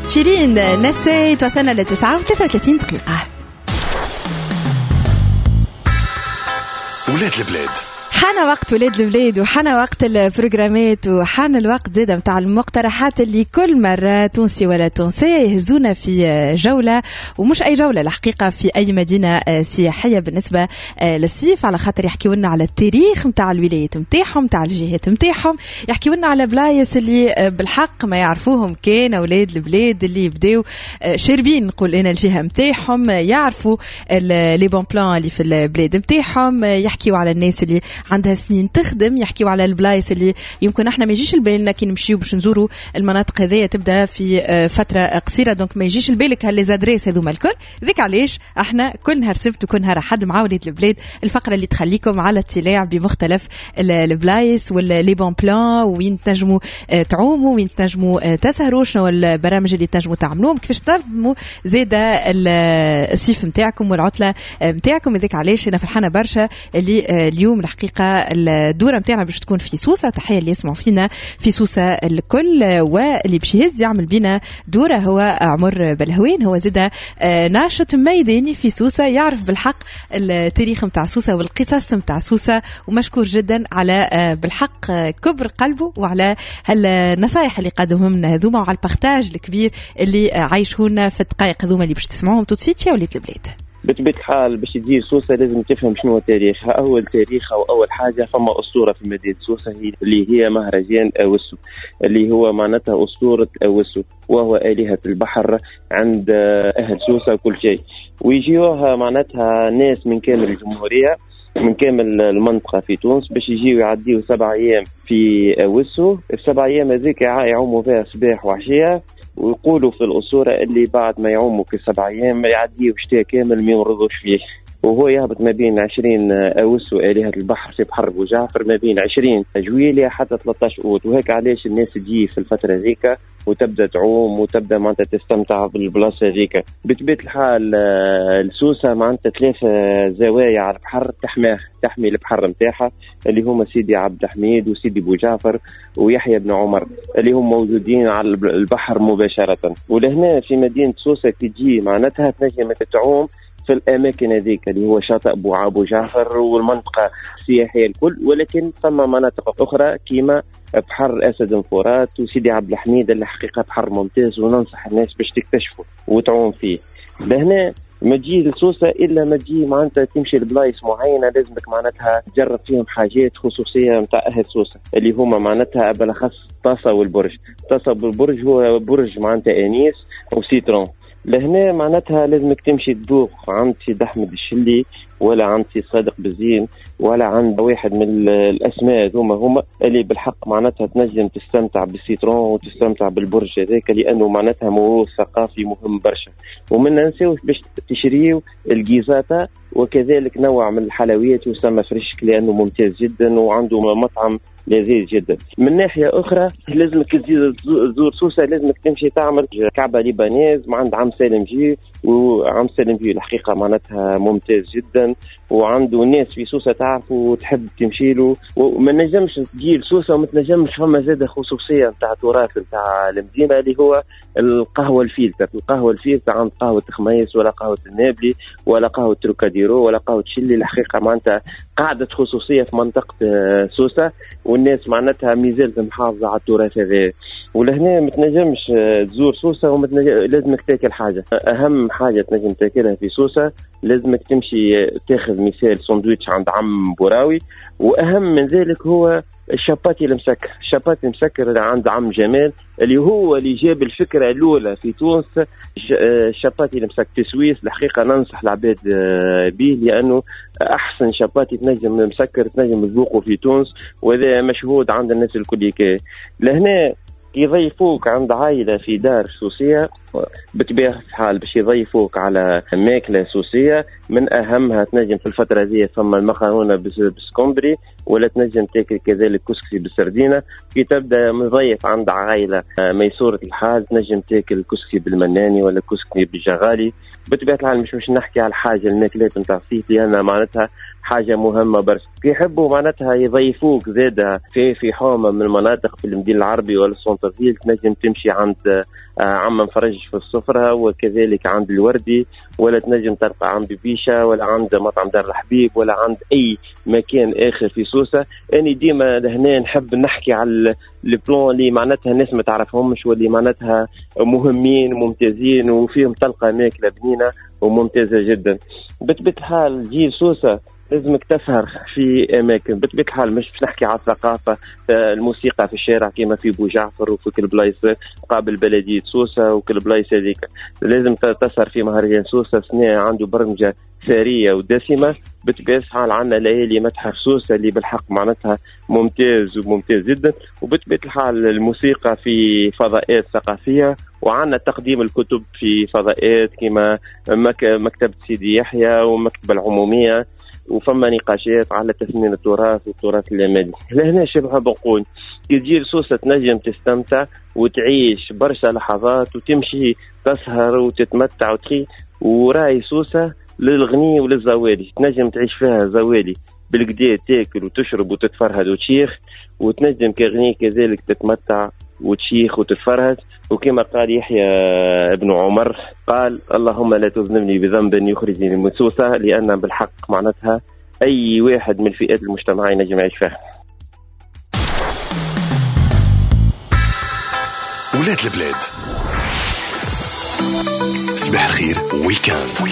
شيرين نسيت. وصلنا ل 9:33 دقيقة. ولاد البلاد، حان وقت ولاد البلاد وحان وقت البروجرامات وحان الوقت زادة متاع المقترحات اللي كل مرة تونسي ولا تونسية يهزونا في جولة، ومش أي جولة الحقيقة، في أي مدينة سياحية بالنسبة للصيف، على خاطر يحكيوا لنا على التاريخ متاع الولايات متاعهم، متاع الجهات متاعهم، يحكيوا لنا على بلايص اللي بالحق ما يعرفوهم كان أولاد البلاد اللي يبداو شاربين نقول أنا الجهة متاعهم، يعرفوا les bons plans اللي في البلاد متاعهم، يحكيوا على الناس اللي عندها سنين تخدم، يحكيوا على البلايص اللي يمكن احنا ما يجيش لبالنا كي نمشيو باش نزوروا المناطق هذيا تبدا في فترة قصيرة، donc ما يجيش لبالك ها les adresses هذوما الكل. ذيك علاش احنا كل نهار سبت وكل نهار احد مع ولاد البلاد، الفقرة اللي تخليكم على اطلاع بمختلف البلايص و les bons plans، وين تنجموا تعوموا، وين تنجموا تسهروا، شنو البرامج اللي تنجموا تعملوهم، كيفاش تنظموا زاده الصيف نتاعكم والعطله نتاعكم. هذاك علاش انا فرحانة برشا اللي اليوم الحقيقة الدورة متاعنا باش تكون في سوسة. تحية اللي يسمعوا فينا في سوسة الكل، واللي باش يهز يعمل بينا دورة هو عمر بلهوين، هو زادة ناشط ميداني في سوسة، يعرف بالحق التاريخ متاع سوسة والقصص متاع سوسة، ومشكور جدا على بالحق كبر قلبه وعلى النصائح اللي قدمهم لنا هذوما، وعلى ال partage الكبير اللي عايشونا في الدقائق هذوما اللي باش تسمعوهم tout de suite في ولاد البلاد. بطبيعة الحال باش تجي سوسة لازم تفهم شنو تاريخها. أول تاريخها وأول حاجة فما أسطورة في مدينة سوسة هي اللي هي مهرجان أوسو، اللي هو معناتها أسطورة أوسو، وهو آلهة البحر عند أهل سوسة وكل شيء. ويجيوها معناتها ناس من كامل الجمهورية، من كامل المنطقة في تونس، باش يجيو يعديو 7 أيام في أوسو. ال7 أيام هذيك يعوموا فيها صباح وعشية، ويقولوا في الأسطورة اللي بعد ما يعوموا في 7 أيام يعديوا شتاء كامل ما يمرضوش فيه. وهو يهبط ما بين 20 أوسو آلهة البحر في بحر بوجعفر، ما بين 20 جويلية حتى 13 أوت. وهيك علاش الناس تجي في الفترة ذيك وتبدا تعوم وتبدا معناتها تستمتع بالبلاصه هذيك. بطبيعة الحال السوسه معناتها 3 زوايا على البحر تحماه، تحمي البحر نتاعها، اللي هما سيدي عبد الحميد وسيدي بوجعفر ويحيى بن عمر، اللي هم موجودين على البحر مباشرة. ولهنا في مدينة سوسة كي تجي معناتها تنجم تعوم في الأماكن هذيك اللي هو شاطئ أبو جعفر والمنطقة السياحية الكل، ولكن ثم مناطق أخرى كيما بحر أسد فرات وسيدي عبد الحميد، اللي حقيقة بحر ممتاز وننصح الناس باش تكتشفه وتعوم فيه. لهنا ما تجي لسوسة إلا ما تجي معناتها تمشي لبلايص معينة، لازمك معناتها تجرب فيهم حاجات خصوصية متاع أهل سوسة، اللي هما معناتها بالأخص طاسة والبرج. طاسة والبرج هو برج معناتها anis و citron. لهنا معناتها لازمك تمشي تذوق عند سيد أحمد الشلي، ولا عند سي صادق بزين، ولا عند واحد من الأسماء ذوما هما اللي بالحق معناتها تنجم تستمتع بال citron وتستمتع بالبرج هذاك، لأنه معناتها موروث ثقافي مهم برشا. ومن ننساوش باش تشريو الجيزاتا، وكذلك نوع من الحلويات يسمى فريشك، لأنه ممتاز جدا وعنده مطعم لذيذ جدا. من ناحية أخرى لازمك تزور سوسة، لازمك تمشي تعمل كعبة libanaise مع عند عم سالم جي، وعم سالم جي الحقيقة معناتها ممتاز جدا، وعنده ناس في سوسة تعرفه وتحب تمشي له. وما نجمش تجي لسوسة وما تنجمش، فما زادة خصوصية نتاع تراث نتاع المدينة اللي هو القهوة الفيلتر. القهوة الفيلتر عند قهوة خميس ولا قهوة النابلي ولا قهوة تروكاديرو ولا قهوة شلي، الحقيقة معناتها قاعدة خصوصية في منطقة سوسة، والناس معناتها مازالت محافظة على التراث هذا. ولهنا ما تنجمش تزور سوسة وما لازمك تاكل حاجة. أهم حاجة تنجم تاكلها في سوسة لازمك تمشي تاخذ مثال ساندويتش عند عم بوراوي، وأهم من ذلك هو الشاباتي المسكر. الشاباتي المسكر عند عم جمال، اللي هو اللي جاب الفكرة الأولى في تونس، الشاباتي المسكر في سويس. الحقيقة ننصح العباد به، لأنه أحسن شاباتي تنجم مسكر تنجم تذوقه في تونس، وهذا مشهود عند الناس الكل. لهنا يضيفوك عند عائلة في دار سوسية، بطبيعة الحال باش يضيفوك على ماكلة سوسية، من أهمها تنجم في الفترة هذه ثم المقارونة بالسكومبري، ولا تنجم تاكل كذلك كسكسي بالسردينة. كي تبدأ مضيف عند عائلة ميسورة الحال تنجم تاكل كسكسي بالمناني ولا كسكسي بالجغالي. بطبيعة الحال مش نحكي على الحاجة الماكلات نتاع الصيف، لأن معناتها حاجة مهمة برشا. يحبوا معناتها يضيفوك زادة في حومة من المناطق في المدينة العربي ولا ال centre-ville، تنجم تمشي عند عم فرج في السفرة، وكذلك عند الوردي، ولا تنجم تلقى عند بيشة، ولا عند مطعم دار الحبيب، ولا عند أي مكان آخر في سوسة. أنا ديما لهنا نحب نحكي على les plans اللي معناتها الناس ما تعرفهمش واللي معناتها مهمين وممتازين وفيهم تلقى ماكلة بنينة وممتازة جدا. بطبيعة الحال جيل سوسة لازمك تسهر في اماكن، بطبيعة الحال مش باش نحكي على الثقافة، الموسيقى في الشارع كما في بو جعفر وفي كل بلايص قابل بلديه سوسة وكل بلايص هذيك. لازم تسهر في مهرجان سوسة، سنة عنده برمجة ثرية ودسمه. بطبيعة الحال عندنا ليالي متحف سوسة اللي بالحق معناتها ممتاز وممتاز جدا، وبطبيعة الحال الموسيقى في فضاءات ثقافية، وعندنا تقديم الكتب في فضاءات كما مكتبه سيدي يحيى ومكتبه العمومية، وفما نقاشات على تثمين التراث والتراث اللامادي. لهنا شبه بنقول كي تجي لسوسة تنجم تستمتع وتعيش برشا لحظات وتمشي تسهر وتتمتع وتخي. وراي سوسة للغني وللزوالي، تنجم تعيش فيها زوالي بالقدا، تاكل وتشرب وتتفرهد وتشيخ، وتنجم كغني كذلك تتمتع وتشيخ وتتفرهد. وكما قال يحيى ابن عمر، قال اللهم لا تذنبني بذنب يخرجني من سوسة، لأن بالحق معناتها أي واحد من فئات المجتمع ينجم يعيش فيها. ولاد البلاد، صباح الخير week-end.